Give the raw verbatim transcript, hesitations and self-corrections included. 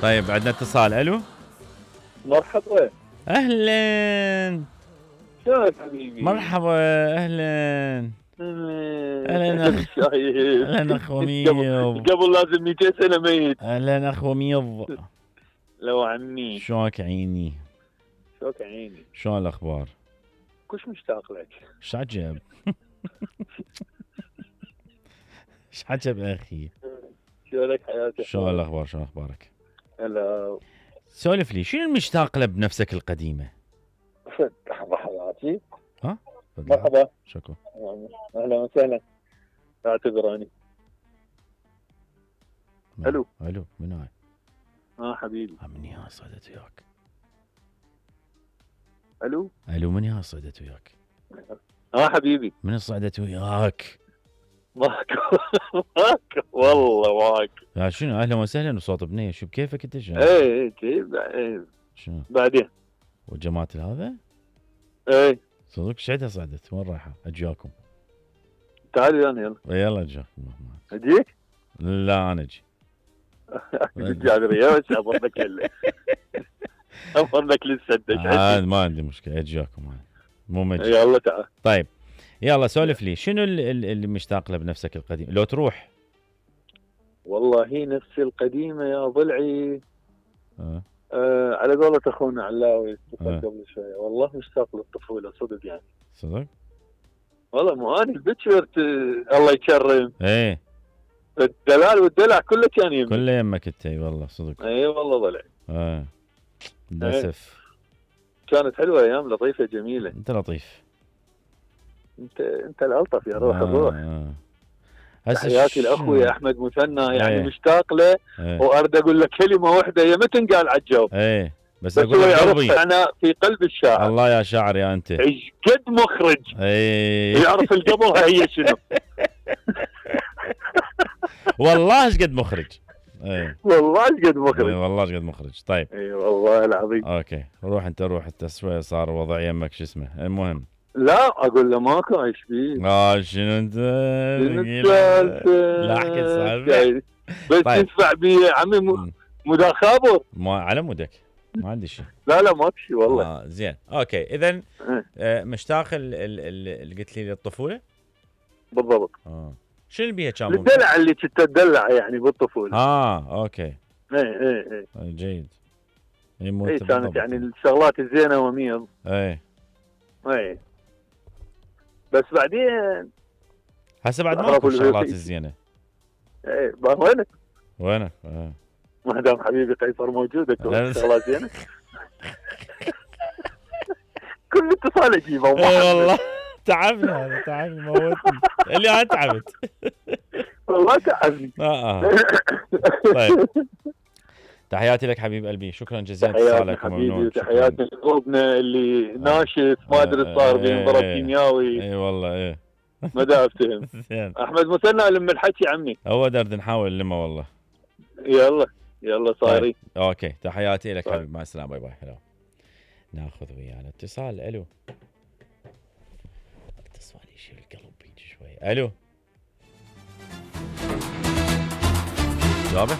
طيب عندنا اتصال. الو مرحبا. اهلا. شلونك حبيبي؟ مرحبا اهلا. اهلا اخ. اهلا اخ وميض. قبل لازم مئتين سنه ميت. اهلا اخ وميض. لو عمي شلونك عيني؟ شلونك عيني؟ شلون الاخبار؟ كلش مشتاق لك. ايش عجب؟ ايش عجب اخي؟ شلونك حياتك؟ شلون الاخبار؟ شلون اخبارك؟ هلا. سولف لي شنو المشتاق له بنفسك القديمه؟ لحظه حياتي. ها؟ مرحبا. شكرا. اهلا وسهلا. اعتذراني. الو. الو من هاي؟ اه حبيبي. من يا صيدت وياك؟ الو. الو من يا صيدت وياك؟ اه حبيبي. من صعدت وياك؟ ماكو ماكو والله ماكو. يا شنو اهلا وسهلا وصوت بنيه شو بكيفك انت شنو؟ ايه ايه شنو؟ بعدين وجماعة هذا؟ ايه صدق شعدها صعدت وين رايحة؟ اجاكم. تعالي انا يلا. يلا اجاكم. اجيك؟ لا انا اجي. جابر يا بس امرك هلا. امرك لسه آه ما عندي مشكلة اجاكم انا. مو مجي. يلا تعال. طيب يلا سولف لي شنو اللي مشتاق له بنفسك القديم لو تروح؟ والله هي نفسي القديمة يا ضلعي. أه. آه على قولة اخونا علاوي أه. قبل شوية والله مشتاق للطفولة صدق يعني. صدق؟ والله مو انا البتشرت الله يكرم. ايه الدلال والدلع كله كان يمك. كله يمك انت اي والله صدق. اي والله ضلعي. اه للاسف. كانت حلوة ايام لطيفة جميلة. انت لطيف. انت انت الالطف يا روح. آه الروح. آه. تحياتي لاخوي احمد مثنى يعني ايه. مشتاق له. ايه. وارد اقول له كلمه واحده يا ما تنقال على الجواب. ايه بس, بس هو يعرف انا في قلب الشاعر. الله يا شاعر يا انت. ايش قد مخرج. ايه. يعرف القبلها هي شنو. والله ايش قد مخرج. ايه والله ايش قد مخرج. ايه والله ايش قد مخرج. طيب اي والله العظيم. اوكي روح انت روح انت شويه صار وضع يمك شو اسمه المهم. لا اقول له ماكو ايش فيه. اه شنو انت؟ لا احكي السالفه. بس طيب. تدفع بي عمي مدار خابر. ما على مودك ما عندي شيء. لا لا ماكو شيء والله. اه زين اوكي اذا آه مشتاق اللي قلت لي للطفوله؟ بالضبط. اه شنو اللي بيها كان ممكن؟ الدلع اللي كنت تدلع يعني بالطفوله. اه اوكي. ايه ايه ايه جيد. اي ايه كانت يعني الشغلات الزينه وميض. ايه ايه بس بعدين هسه بعد ماكو الشغلات الزينه. ايه وينك؟ وينك؟ اه ما دام حبيبي قيصر موجود اكو شغلات زينه. كل اتصال اجيبه. اي والله تعبنا هذا تعبني موتني اللي انا تعبت. والله تعبني. اه اه طيب تحياتي لك حبيب قلبي شكرا جزيلا اتصالك وممنون. تحياتي لقلوبنا اللي ناشف ما ادري صار بينضرب كيمياوي. اي والله ايه ما دا افتهم. احمد مثنى لم الحكي عمي. هو درد نحاول نلمه والله. يلا يلا صاري. طيب. اوكي تحياتي لك حبيب مع السلامه باي باي. هلا ناخذ ويانا اتصال. الو اتصال يشيل القلب بيجي شوي. الو جابه